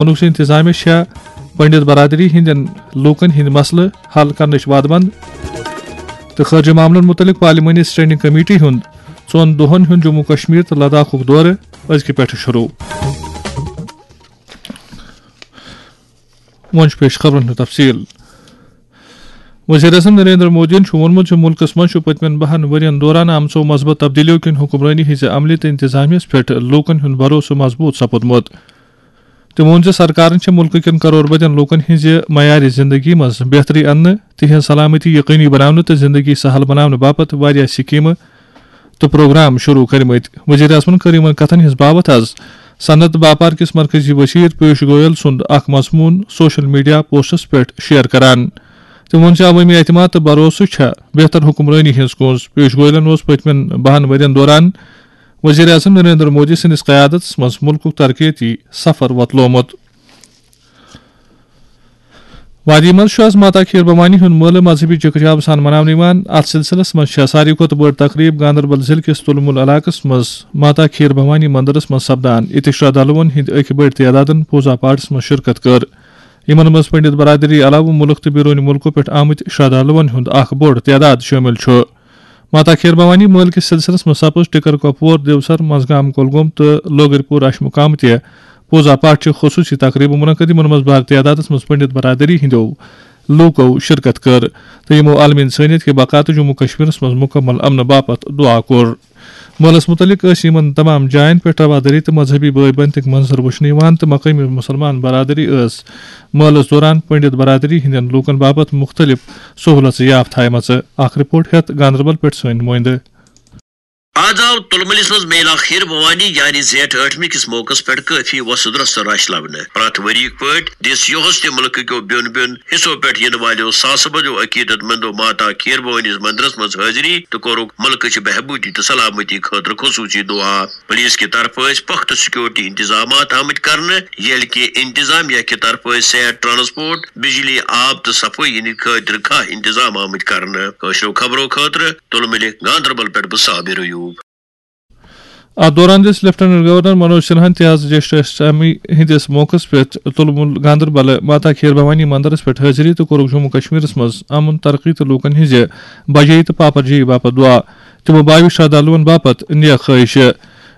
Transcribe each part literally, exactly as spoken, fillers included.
ووٚنُکھ زِ انتظامیہ چھےٚ پنڈت برادری ہٕنٛدٮ۪ن لوٗکن ہٕنٛدۍ مسلہٕ حل کرنٕچ وعدٕ بنٛد۔ تہٕ خارجہ معاملن مُتعلق پارلیمانی اسٹینڈنگ کمیٹی ہُنٛد ژۄن دۄہن ہُنٛد جموں کشمیر تہٕ لداخُک دورٕ أزکہِ پٮ۪ٹھٕ شروع۔ وۄنۍ چھُ پیش خبرن ہُنٛد تفصیل۔ وزیر اعظم نریندر مودیَن چھُ ووٚنمُت زِ مُلکَس منٛز چھُ پٔتمٮ۪ن بَہَن ؤرۍ یَن دوران آمژو مثبت تبدیلیو کِنۍ حکمرٲنی ہٕنٛزِ عملہِ تہٕ انتظامیہَس پٮ۪ٹھ لوٗکَن ہُنٛد بھروسہٕ مضبوٗط سپُدمُت۔ تٔمۍ ووٚن زِ سرکارَن چھِ مُلکہٕ کٮ۪ن کرور بدٮ۪ن لوٗکَن ہٕنٛزِ معیارِ زِنٛدگی منٛز بہتری اَننہٕ، تِہنٛز سلامتی یقینی بناونہٕ تہٕ زِنٛدگی سہل بناونہٕ باپتھ واریاہ سکیٖمہٕ تہٕ پروگرام شروع کٔرمٕتۍ۔ وزیر اعظمَن کٔر یِمَن کتھَن ہٕنٛز باوتھ از صنعت باپار کِس مرکزی وزیر پیوش گویل سُنٛد اکھ مضموٗن سوشل میڈیا پوسٹس پٮ۪ٹھ شیئر کران۔ تٔمۍ ووٚن زِ عوٲمی اعتماد تہٕ بھروسہٕ چھےٚ بہتر حکمرٲنی ہٕنٛز کونٛز۔ پیوش گویلَن اوس پٔتمٮ۪ن بَہَن ؤرۍ یَن دوران وزیر اعظم نریندر مودی سٕنٛدِس قیادتس منٛز مُلکُک ترقیتی سفر وۄتلومُت۔ وادی منٛز چھُ از ماتا کھیٖر بھوانی ہُنٛد مٲلہٕ مذہبی چکہ جاب سان مناونہٕ یِوان۔ اتھ سلسلس منٛز چھےٚ ساروی کھۄتہٕ بٔڑ تقریب گاندربل ضلعہٕ کِس تُل مُل علاقس منٛز ماتا کھیٖر بھوانی مندرس منٛز سپدان، ییٚتہِ شردھالوٗون ہٕنٛدۍ أکۍ بٔڑۍ تعدادن پوٗزا پاٹھس منٛز شرکت کٔر۔ یِمن منٛز پنڈت برادری علاوٕ مُلک تہٕ بیرونِ مُلکو پٮ۪ٹھ آمٕتۍ شردھالوٗون ہُنٛد اکھ بوٚڑ تعداد شٲمِل چھُ۔ ماتا کھیٖر بھوانی مٲلہٕ کِس سلسلس منٛز سپٕز ٹِکر کۄپوور، دیوسر، منٛزگام کۄلگوم تہٕ لوگرپور اشمُقام تہِ پوٗزا پاٹھ چہِ خصوٗصی تقریٖبہٕ منعقد، یِمن منٛز بٔڑ تعدادس منٛز پنڈت برادری ہٕنٛدیو لوٗکو شرکت کٔر تہٕ یِمو عالمی انسٲنیت کہِ بقا تہٕ جموں کشمیرس منٛز مکمل امنہٕ باپتھ دعا کوٚر۔ مٲلس مُتعلق ٲسۍ یِمن تمام جاین پٮ۪ٹھ روادٲری تہٕ مذہبی بٲے بنتٕکۍ منظر وٕچھنہٕ یِوان تہٕ مقٲمی مُسلمان برادری ٲس مٲلس دوران پنڈت برادری ہٕنٛدٮ۪ن لوٗکن باپتھ مُختٔلِف سہوٗلژٕ یافتہٕ تھایمژٕ۔ اکھ رپورٹ ہٮ۪تھ گاندربل پٮ۪ٹھ سٲنۍ نُمٲیندٕ۔ آز آو تُلمُلِس منٛز میلا خیٖر بھوانی یعنی زیٹھ ٲٹھمہِ کِس موقعس پٮ۪ٹھ کٲفی وۄسُد رۄسُد رش لبنہٕ۔ پرٛٮ۪تھ ؤریِک پٲٹھۍ دِژ یُہُس تہِ مُلکہٕ کیو بیوٚن بیوٚن حصو پٮ۪ٹھ یِنہٕ والیو ساسہٕ بٔدیو عقیدت مندو ماتا کھیٖر بھوٲنِس مندرس منٛز حٲضری تہٕ کوٚرُکھ مُلکہٕ چہِ بہبوٗدی تہٕ سلامتی خٲطرٕ خصوٗصی دُعا۔ پُلیٖس کہِ طرفہٕ ٲسۍ پۄختہٕ سیکیورٹی انتظامات آمٕتۍ کرنہٕ، ییٚلہِ کہِ انتظامیہ کہِ طرفہٕ ٲسۍ صحت، ٹرانسپورٹ، بجلی، آب تہٕ صفٲیی ہٕنٛدِ خٲطرٕ کھاہ انتظام آمٕتۍ کرنہٕ۔ کٲشرٮ۪و خبرو خٲطرٕ تُلمُلہِ گاندربل پٮ۪ٹھ بہٕ صابر ایوب۔ اتھ دوران دِژ لیفٹیننٹ گورنر منوج سنہاہن تہِ آز جیشٹھ اشٹمی ہٕنٛدِس موقعس پٮ۪ٹھ تُلمُل گاندربل ماتا کھیٖر بھوانی مندرس پٮ۪ٹھ حٲضری تہٕ کوٚرُکھ جموں کشمیرس منٛز امن، ترقی تہٕ لوٗکن ہٕنٛزِ بجٲیی تہٕ پاپرجٲیی باپتھ دعا۔ تِمو بایو شردھالوٗون باپتھ نیک خٲہِشہٕ۔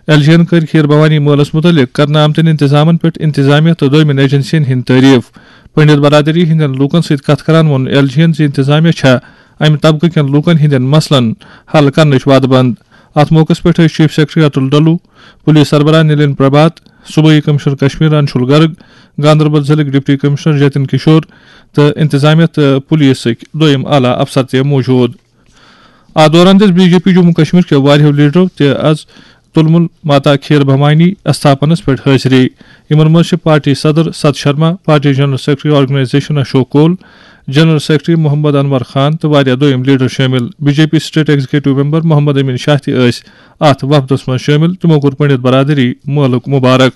ایل جی یَن کٔرۍ کھیٖر بھوانی مٲلَس مُتعلِق کرنہٕ آمتٮ۪ن انتظامَن پٮ۪ٹھ انتظامیہ تہٕ دوٚیمٮ۪ن ایجنسیَن ہٕنٛدۍ تعریٖف۔ پنڈت برادری ہٕنٛدٮ۪ن لوٗکَن سۭتۍ کَتھ کران ووٚن ایل جی یَن زِ انتظامیہ چھےٚ اَمہِ طبقہٕ کٮ۪ن لوٗکَن ہٕنٛدٮ۪ن مسلَن حل کرنٕچ وعدٕ بنٛد۔ اَتھ موقعَس پٮ۪ٹھ ٲسۍ chief secretary Atul Dulloo, police سربراہ نلین پربھات، صوبٲئی کمشنر کشمیر انشول گرگ، گاندربل ضلعٕکۍ ڈپٹی کمشنر جتن کشور تہٕ انتظامیہ تہٕ پولیسٕکۍ دوٚیِم اعلیٰ افسر تہِ موجود۔ اتھ دوران دِژ B J P Jammu Kashmir کیو واریاہو لیڈرو تہِ از تُلمُل ماتا کھیٖر بھوانی استھاپنس پٮ۪ٹھ حٲضری۔ یِمن منٛز چھِ پارٹی صدر Sat Sharma, party general secretary organisation Ashok Koul, general secretary Mohammad Anwar Khan تہٕ واریاہ دوٚیِم لیڈر شٲمِل۔ B J P state executive member Mohammad Amin Shah تہِ ٲسۍ اتھ وفدس منٛز شٲمِل۔ تِمو کوٚر پنڈت برادری مٲلُک مبارک۔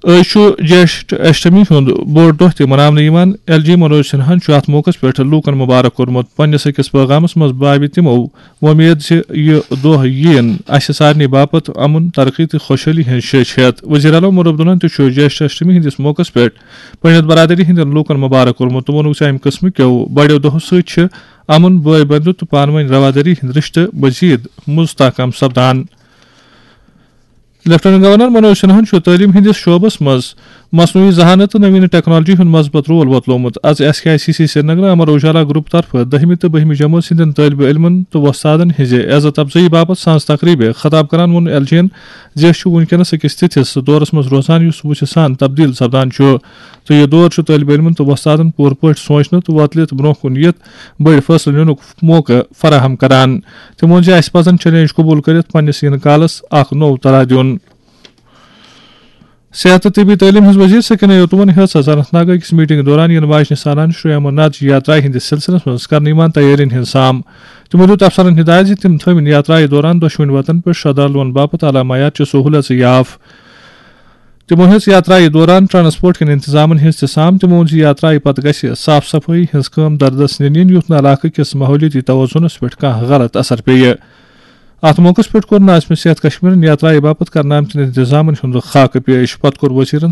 أزۍ چھُ جیشٹھ اشٹمی ہُنٛد بوٚڑ دۄہ تہِ مناونہٕ یِوان۔ ایل جی منوج سنہاہن چھُ اتھ موقعس پٮ۪ٹھ لوٗکن مبارک کوٚرمُت۔ پننِس أکِس پٲغامس منٛز باوِ تِمو وۄمید زِ یہِ دۄہ یِیِن اسہِ سارنٕے باپتھ امن، ترقی تہٕ خۄشحٲلی ہٕنٛز شیٚچھ ہٮ۪تھ۔ وزیر اعلیٰ عمر عبداللہن تہِ چھُ جیشٹھ اشٹمی ہٕنٛدِس موقعس پٮ۪ٹھ پنڈت برادری ہٕنٛدٮ۪ن لوٗکن مبارک کوٚرمُت تہٕ ووٚنُکھ زِ امہِ قٕسمہٕ کیو بڑیو دۄہو سۭتۍ چھِ امن، بٲے بندُت تہٕ پانہٕ ؤنۍ روادٲری ہٕنٛدۍ رشتہٕ مزید مستحکم سپدان۔ لیفٹیننٹ گورنر منوج سنہاہن چھُ تعلیٖم ہٕنٛدِس شعبس منٛز مصنوعی ذہانت تہٕ نوین ٹیکنالوجی ہُنٛد مثبت رول وۄتلومُت۔ از S K I C C Srinagar Amar Ujala group طرفہٕ دٔہمہِ تہٕ بٔہمہِ جمٲژ ہٕنٛدٮ۪ن طٲلبہِ علمن تہٕ وۄستادن ہٕنٛزِ عزت افزٲیی باپتھ سانز تقریبہِ خطاب کران ووٚن ایل جی یَن زِ أسۍ چھِ وُنکیٚنس أکِس تِتھِس دورس منٛز روزان یُس وُژھِ سان تبدیل سپدان چھُ تہٕ یہِ دور چھُ طٲلبہِ علمن تہٕ وۄستادن پوٗرٕ پٲٹھۍ سونچنہٕ تہٕ وۄتلِتھ برونٛہہ کُن یِتھ بٔڑۍ فٲصلہٕ نِنُک موقعہٕ فراہم کران۔ تٔمۍ ووٚن زِ اَسہِ پَزَن چیلنج قبول کٔرِتھ پننِس یِنہٕ کالَس اکھ نوٚو تران دیُن۔ صحت تہٕ طبی تعلیٖم ہٕنٛز وزیر سکینہ یوتوٗوَن ہیٚژ آز اننت ناگ أکِس میٹنگ دوران یِنہٕ واجنہِ سالانہٕ شری امرناتھ جی یاترایہِ ہٕنٛدِس سلسلس منٛز کرنہٕ یِوان تیٲرین ہٕنٛز سام۔ تٔمۍ دیُت افسرن ہدایت زِ تِم تھٲوِن یاترایہِ دوران دۄشوٕنۍ وتن پٮ۪ٹھ شردھالوٗوَن باپتھ اعلیٰ معیار چہِ سہوٗلژٕ یاف۔ تِمو ہیٚژ یاترایہِ دوران ٹرانسپورٹ کٮ۪ن انتظامن ہٕنٛز تہِ سام۔ تِمو ووٚن زِ یاترایہِ پتہٕ گژھِ صاف صفٲیی ہٕنٛز کٲم دردس نِنہٕ یِنۍ، یُتھ نہٕ علاقہٕ کِس ماحولیٲتی توازنس پٮ۪ٹھ کانٛہہ غلط اثر پیٚیہِ۔ اتھ موقعس پٮ۪ٹھ کوٚر ناظمِ صحت کشمیرن یاترایہِ باپتھ کرنہٕ آمتٮ۪ن انتظامن ہُنٛد خاکہٕ پیش۔ پتہٕ کوٚر وزیرن